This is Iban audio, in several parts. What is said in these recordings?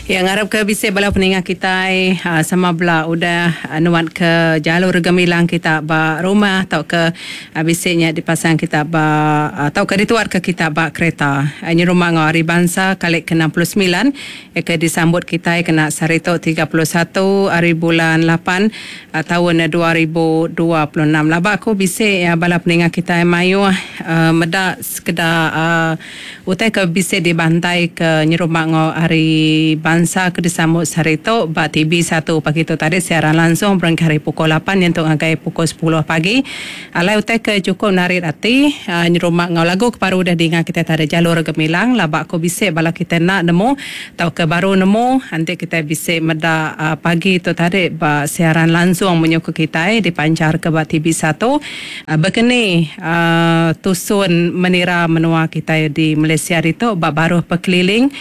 Ya ngarap ke bisi bala peninga kitai sama bela udah nuat ke jalur gemilang kita ba rumah tauka bisi nya dipasang kita ba tauka dituat ke kita ba kereta. Nyerumba enggau Hari Bansa kali ke 69 ke disambut kitai kena sehari tu 31 hari bulan lapan taun 2026. Laba aku bisi bala peninga kitai mayuh meda sekeda utai ke bisi dibantai ke nyerumba enggau Hari Bansa ke disambut sehari tu ba TV satu pagi tu tadi siaran langsung berengkah ari pukul lapan nyentuk ngagai pukul sepuluh pagi. Alai utai ke chukup narit ati nyerumba enggau lagu ke baru udah dinga kitai tadi Jalur Gemilang laba aku bisi bala kitai enda nemu tauka baru nemu enti kitai bisi meda pagi tu tadi ba siaran langsung menyuku kitai dipancharka ba TV satu. Baka ni tusun menira menua kitai di Malaysia ditu ba baruh pekeliling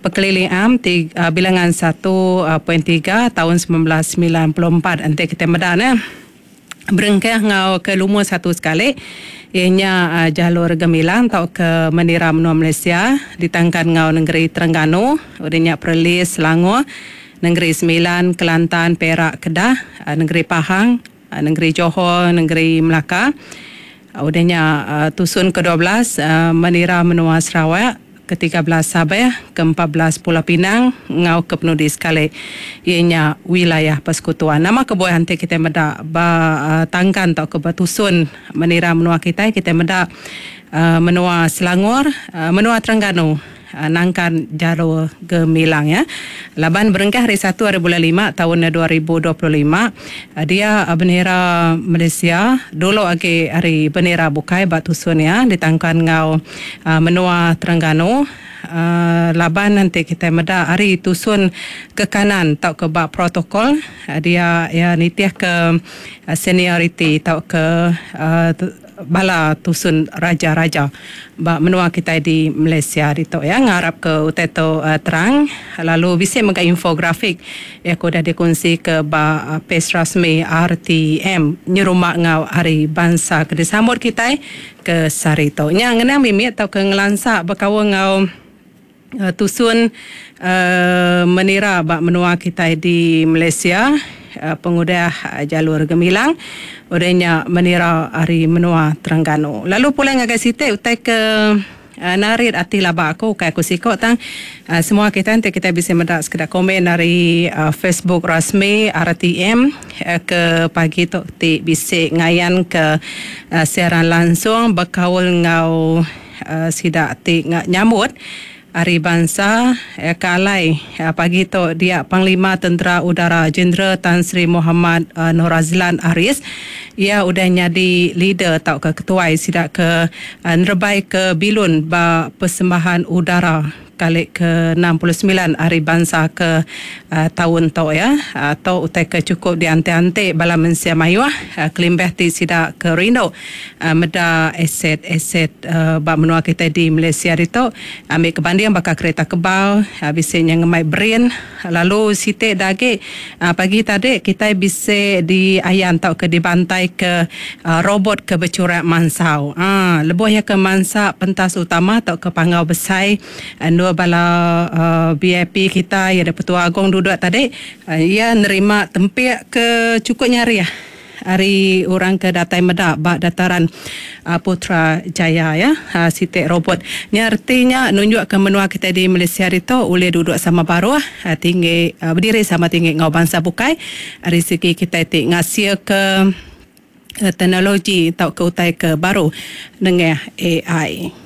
Pekeliling Am ti bilangan satu point tiga taun 1994 enti kitai meda ne berengkah enggau ke lumur satu sekali iya nya Jalur Gemilang tauka menira menua Malaysia ditangkan enggau nengeri Terengganu udah nya Perlis, Selangor, Nengeri Sembilan, Kelantan, Perak, Kedah, Nengeri Pahang, Nengeri Johor, Nengeri Melaka. Udah nya tusun ke 12 menira menua Sarawak, ke 13 Sabah, ke 14 Pulau Pinang enggau ke penudi sekali iya nya Wilayah Persekutuan. Nama kebuah enti kitai meda ba tangkan tauka ba tusun menira menua kitai, kitai meda menua Selangor, menua Terengganu. Nangkan Jalur Gemilang ya. Laban berengkah hari satu hari bulan lima taun 2025 dia bendera Malaysia dulu agi ari bendera bukai ba tusun iya ditangkan enggau menua Terengganu laban enti kitai meda ari tusun ke kanan tauka ba protokol dia iya nitihka senioriti tauka bala tusun raja-raja ba menua kitai di Malaysia ditu ya. Ngarap ke utai tu terang lalu bisi mega infografik iya ke udah dikunsi ke ba page rasmi RTM nyerumba enggau Hari Bansa ke disambut kitai ke sehari tu. Nya ngenang mimit tauka ngelansa bekaul enggau tusun menira ba menua kitai di Malaysia pengudah Jalur Gemilang udah nya menira ari menua Terengganu. Lalu pulai ngagai siti utai ke narit ati laba aku ukai aku siko tang semua kitai enti kitai bisi meda sekeda komen ari Facebook rasmi RTM ke pagi tu ti bisi ngayanka siaran langsung bekaul enggau Sida ti nyambut ari bansa ke alai pagi tu dia Panglima Tentera Udara Jeneral Tan Sri Mohamad Norazlan Aris iya udah nyadi leader tauka ketuai sida ke nerebai ke bilun ba persembahan udara kali ke 69 ari bansa ke taun tu iya. Tu utai ke chukup dianti-anti bala mensia mayuh kelimpah ti sida ke rindu meda aset-aset ba menua kitai di Malaysia ditu ambi ke banding baka kereta kebal bisi nya ngemai brin lalu siti da agi pagi tadi kitai bisi diayan tauka dibantaika robot ke bechurak mansau. Lebuh iya ke mansa pentas utama tauka panggau besai Endur bala VIP kitai iya Pertua Agong duduk tadi iya nerima tempik ke chukup nyarih ari orang ke datai meda ba dataran Putrajaya ya siti robot. Nya reti nya nunjukka menua kitai di Malaysia ditu ulih duduk sama baruh tinggi bediri sama tinggi enggau bansa bukai ari segi kitai ti ngasilka teknologi tauka utai ke baru nengah AI.